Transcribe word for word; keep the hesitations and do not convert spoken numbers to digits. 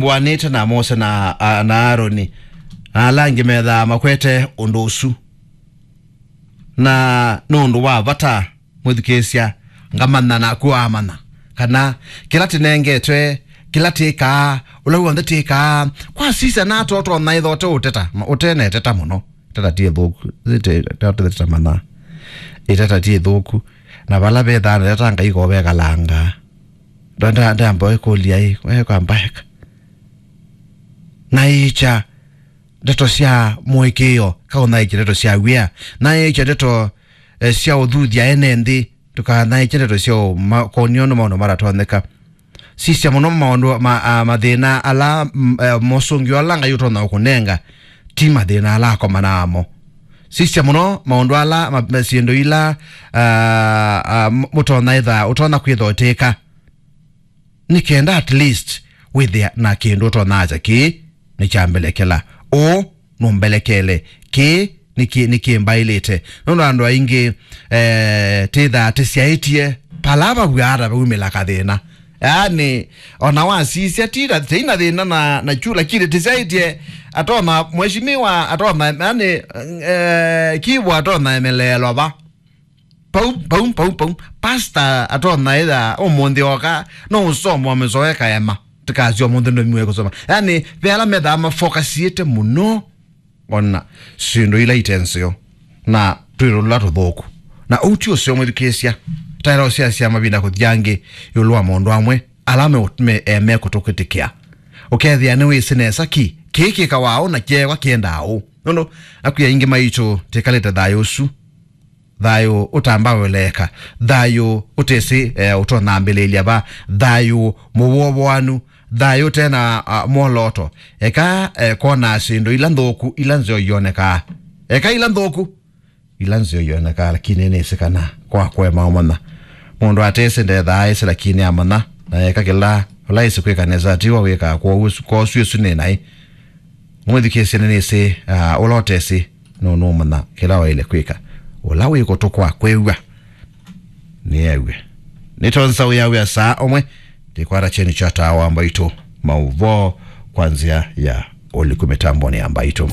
mbũanĩte na Mose na, a, na Aroni, na ala angĩ methaa makwete ũndũ ũsu. Na nĩ ũndũ wa vata, mwĩthukĩĩsya, ngamanya naku wamanya, kana kĩla tĩnengetwe, kĩla tĩkaa, ũla w'onthe tĩkaa, kwasisya nato ũtonya ĩtha ũte ũteta, ma-, ũteneteta mũno. Ĩteta ti ĩthũku, ĩte-, ĩteta mana. Ĩteta ti ĩthũku. Na vala vethaa na ĩteta Ngai ko vekalanga. Nda-, nda-, ndamba ĩkũlya ĩ, we kwamba eka. Na ĩkya ndeto sya mũĩkĩĩo, kaũthaĩkya ndeto sya wia, na ĩkya ndeto, eh, sya ũthuthya ene nthĩ, ndũkathaĩkye ndeto sya ũma-, kũnio nĩ maũndũ matatonyeka. Sisya mũno maũndũ ma, a, mathĩna ala, m-, eh, mosũngĩo ala Ngai ũtonya ũkũnenga, ti mathĩna ala akomanaa mo. Sisya mũno maũndũ ala, ma, ma, syĩndũ ila, a, a, m-, mũtonya ĩtha, ũtonya kwĩtha ũtĩka. Nĩ kenda at least wĩthĩa na kĩndũ ũtonya asya, kĩĩ nĩkyambelekela. Ũũ nũmbelekele. Kĩĩ nĩkĩ-, nĩkĩmbaĩlĩte. Nũndũ andũ aingĩ, eh, tĩthaa tĩsyaĩtye pala vavw'a ata vaumĩla kathĩna. Yaani, ona wasisya ti na, tĩina thĩna na, na kyu, lakini tĩsyaĩtye atona mheshimiwa, atona, yaani, eh, kivu atona emeleelwa va. Pau, pau, pau, pau. Pastor atona ĩtha ũmũnthĩ oka, no ũsomo wa mĩsoe kaema. Tikasyo mũnthĩ ndomiwe kusoma. Yaani, ve ala methaa mafokasiĩte mũno. Ona syĩndũ ila ite nzeo. Na twĩrũla tũthũku. Na ũu ti ũseo mwĩthukĩĩsya. Taĩla ũsyasya mavinda kũthi angĩ ĩũlũ wa maũndũ amwe. Ala me, me, e, mekũtũkĩtĩkĩa. Ũkethĩa nĩwĩsĩ nesa ki, kĩĩ kĩkawa ũũ na kyewa kĩendaa ũũ. Nũndũ, akwĩa aingĩ maitũ, tĩkalĩte thayũ ũsu. Thayũ ũtambaũleeka, thayũ ũtesĩ, eh, ũtonambĩlĩlya va, thayũ mũwovoanu, thayũ ũtena, ah, mwolooto. Eka, eh, kwona syĩndũ ila nthũku, ila nzeo ionekaa. Eka ila nthũku, ila nzeo ionekaa, lakini nĩsĩ kana kwakwe maũmanya. Mũndũ atesĩ ndethaa aĩsĩ, lakini amanya, na eka kĩla ũla ĩsĩ kwĩka nesa, tiwa wĩkaa kwosu, kwosu ĩsu nĩ naĩ. Mwĩthukĩĩsye nĩnĩsĩ, ah, ũla ũtesĩ, nũnũmanya kĩla waĩle kwĩka. Ũla wĩ kũtũ kwa kwĩw'a, nĩew'e. Nĩtonza wĩa wĩa saa ũmwe, ndĩkwata kyeni kya taa wa mbaitũ, maũvoo kwa nzĩa ya ũliku mĩtambonĩ ya mbaitũ.